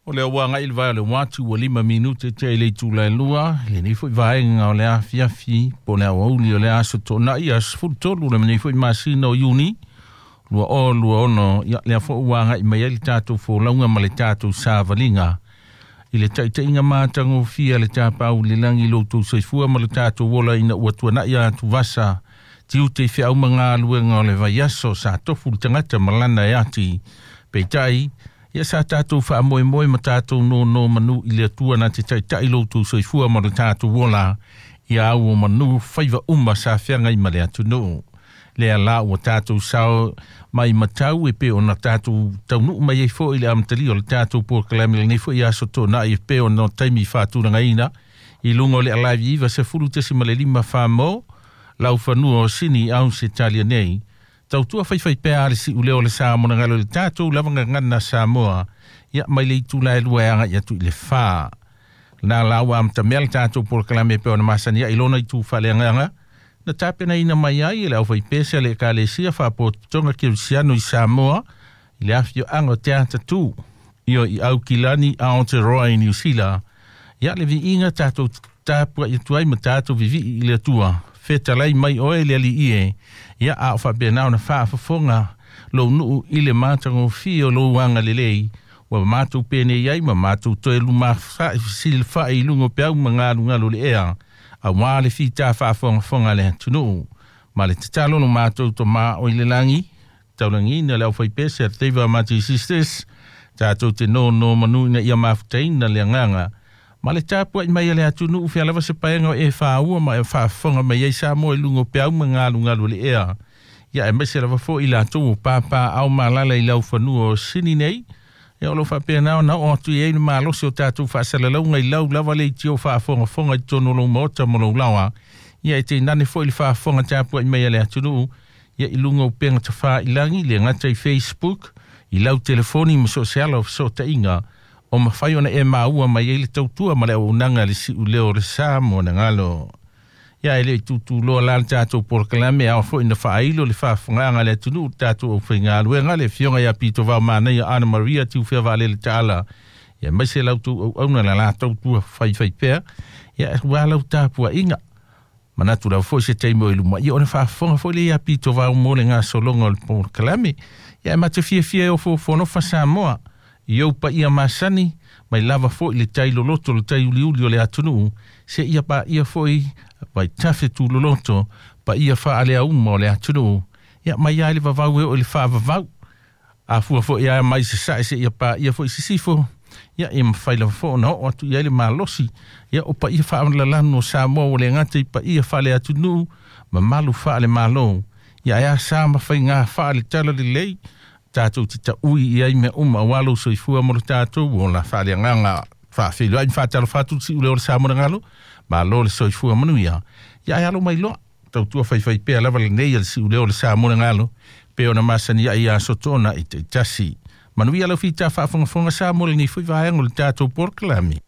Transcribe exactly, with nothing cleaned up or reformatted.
O lea ua agai i le vae o le uati ua lima minute tea i le itula e lua, lenei foi vaega o le afiafi po o le aoauli o le aso Toonai aso sefulu tolu le lenei foi masina o Iuni lua o lua ono. Ia lea foi ua agai mai ai le tatou folauga ma le tatou savaliga i le taitaiga matagofie a le tapau i le lagi lo outou soifua ma le tatou ola ina ua tuanai atuvasa tiute i feau ma galuega o le vaiaso sa tofu le tagata ma lana e ati. Peitai, ia sa tatou faamoemoe ma tatou nono manu i le Atua na te taitai lo outou soifua ma le tatou ola ia au o manu faiva uma sa feagai ma le atunuu. Lea la ua tatou sao mai matau e pe ona tatou taunuu mai ai foi i le amatalia o le tatou polokalame lenei foi aso Toonai e pe ona taimi faatulagaina i luga o le Alive iva sefulu tesi ma le lima wha lau fanua o Sini au se talia nei. Tautua faifai pea le siuleo o le Samoa na galo le tatou lava gagana Samoa ia mai le itula e lua e agai atu i le whā. Nā la ua amata mea le tatou polokalame pe ona masani ai lona itu faaleagaga na tapenaina mai ai e le aufaipese a le Ekalesia Faapotopotoga Kerisiano i Samoa i le afioaga o Te Atatū ia i Aukilani Aotearoa i Niu Sila. Ia le viiga tatou tapuai atu ai ma tatou vivii i le Atua. Fetalai mai oe le Alii e, ia a o faapena ona faafofoga lou nuu i le matagofie o lou agalelei ua matou penei ai ma matou toe lumafa'i fesilifa'i i luga o peau ma galugalu o le ea auā le fita faafogafoga a le atunuu. Ma le tatalo lo matou tomā o i le lagi taulagiina le aufaipese a le Teiva Mati Sisters tatou te nono manu ina ia mafutaina le agaga ma le tapuai mai a le atunuu fea lava se paega o e fāua ma e faafofoga mai ai Samoa i luga o peau ma galugalu o le ea. Ia aemaise lava foi i latou o papaaao malala i laufanua o Sini nei. Ia o lo faapena ona oo atu i ai le malosi o tatou faasalalauga i lau lava le itio faafogafoga i totonu o lou maota ma lou laoa. Ia e tainane foi le faafofoga tapuai mai a le atunuu ia i luga o upega tafailagi le gata i Facebook i lau telefoni ma so o se ala o fesootaiga o mafai ona e maua mai ai le tautua ma le auaunaga a le siuleo o le Samoa na galo. Ia e le i tutuloa la le tatou polokalame ao foi na faailo le faafofogaaga a le atunuu le tatou aufaigaluega le afioga ia Pito Manaia Ana Maria Tiufea Vaalele Taala ia aemaise lau tou auauna la latou tua faifai pea ia ua lau tapuaiga. Manatu lava foi se taimi o i luma ia ona faafofoga foi le ia Pito Vao mo le gasologa o le polokalame. Ia e mate fiafia e ofoofonofa Samoa i ou paia masani mai lava foi le tai loloto le tai uliuli o le atunuu se ia paia foi vaitafe tuloloto paia faaleauma o le atunuu. Ia mai ai le vavau e o i le faavavau afua foi ia mai sasae se ia paia foi sisifo. Ia e mafai lava foi ona oo atu i ai le malosi ia o paia faaalalanu o Samoa ua le gata i paia faaleatunuu mamalu faalemalo. Ia e asa ma faiga faaletala lelei tatou te taui i ai mea uma auā lou soifua mo le tatou ola faaleagaga faafeiloai ma faatalofa atu le siuleo o le Samoa na galo malo le soifua manuia. Ia e alo mai loa tautua faifai pea lava lenei a le siuleo o le Samoa na galo pe ona masani ai aso Toonai taitasi. Manuia lau fita faafogafoga Samoa lenei foi vaega o le tatou polokalame.